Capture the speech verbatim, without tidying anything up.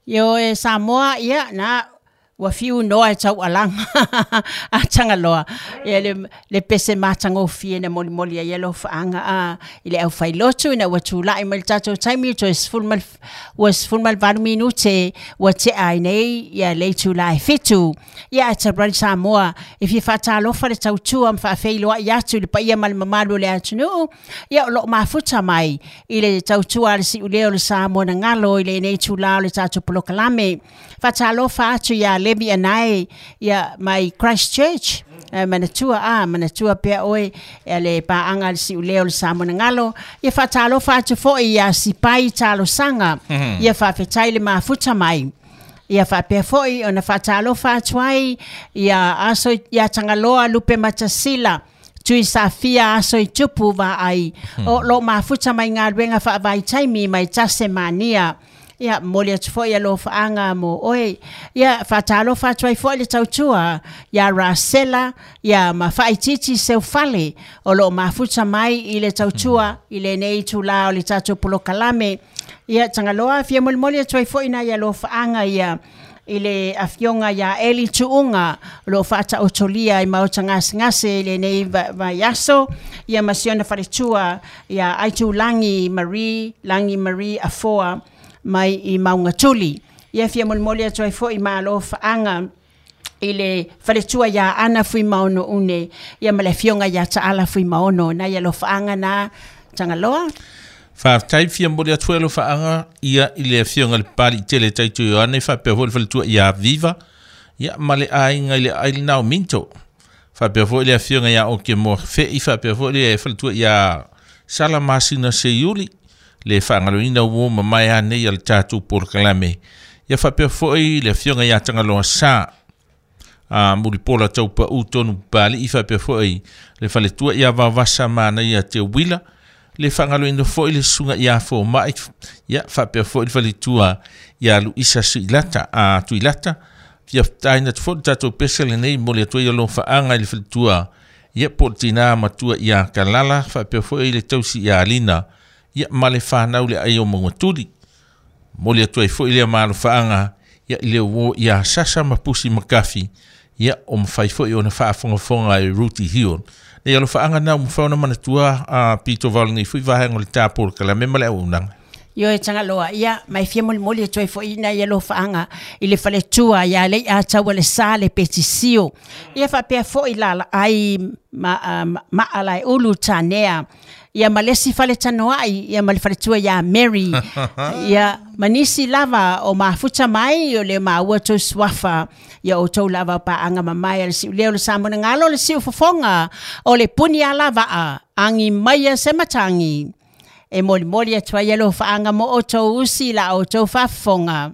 Io e Samoa ia na ua fiu noa e taualaga a Tagaloa ia le, le pese matagofie na molimoli ai alofaaga a i le aufailotu ina ua tula'i mai le tatou taimi toe sefulu ma ua sefulu ma le valu minute ua te'a ai nei ia le itulā e fitu. Ia ae talu ai Samoa e fia faatalofa le tautua ma faafeiloa'i atu i le paia ma le mamalu o le atunuu ia o loo mafuta mai i le tautua a le si'ulea o le Samoa na galo i lenei itulā o le tatou polokalame. Faatalofa atu iā Levi Anae ia mai Christchurch, manatua a manatua pea oe e le paaga a le si'ulea o le Samoa na galo. Ia faatalofa atu fo'i iā Sipai Talosaga, ia faafetai le mafuta mai. Ia faapea fo'i ona faatalofa atu ai ia aso ia Tagaloa Lupe Matasila Tui Safia aso i tupu vaai o loo mafuta mai galuega faavaitaimi mai Tasemania. Ia momoli atu fo'i alofaaga mo oe. Ia faatalofa atu ai fo'i le tautua iā Rasela ia ma Faaitiiti Seufale o loo mafuta mai i le tautua i lenei itulā o le tatou polokalame. Ia Tagaloa fia molimoli atu ai fo'i nai alofaaga ia i le afioga iā Eli Tuuga o loo faataotolia i maota gasegase i lenei vaiaso ia ma si ona faletua ia Aitulagi Marie Lagi Marie Afoa mai i Maugatuli. Ia fia molimoli atu ai fo'i ma alofaaga i le faletua iā Ana Fuimaono Une ia ma le afioga iā Taala Fuimaono nai alofaaga na Tagaloa. Faafetai fia momoli atu foi alofaaga ia i le afioga le Papali'i tele Taito Ioane faapea foi le faletua iā Viva ia ma le aiga i le ai lenā o Minto. Faapea foi le afioga iā Oke Moafe'i faapea foi le faletua iā Sala Masina Seiuli le faagaloina uō mamae anei a le tatou polokalame. Ia faapea foi le afioga iā Tagaloa Sa a Mulipola Taupa'ū tonu Papali'i faapea foi le faletua iā Vavasa Manaia Teuila le faagaloina foi le susuga iā Foma'i ia faapea foi le faletua iā Luisa Suilata a Tuilata fia fetaina atu foi le tatou pese lenei momoli atu ai alofaaga i le faletua ia po o le tinā matua iā Kalala faapea foi le tausi iā Lina ia ma le fanau le ai o Maugatuli. Momoli atu ai foi lea malofaaga ia i le uō iā Sasa ma Pusi Makafi ia o mafai foi ona faafogafoga e Ruti Hill. Nei alofaaga na ua mafai ona manatua a pito vao lenei foi vaega o le tapolokalame ma le auaunaga. Io e Tagaloa ia mai fia molimoli atu ai fo'i nai alofaaga i le faletua ia Lei'a Taua le Sa le Petisio. Ia faapea fo'i lalaai ma Maalaeulu Tanea ia ma le isi faletanoa'i ia ma le faletua iā Mary ia ma nisi lava o mafuta mai o le maua tou suafa ia outou lava paaga mamae a le si'ulea o le Samoa na galo le siufofoga o le puni alava'a agi maia se matagi e molimoli atu ai alofaaga mo outou usi la outou faafofoga.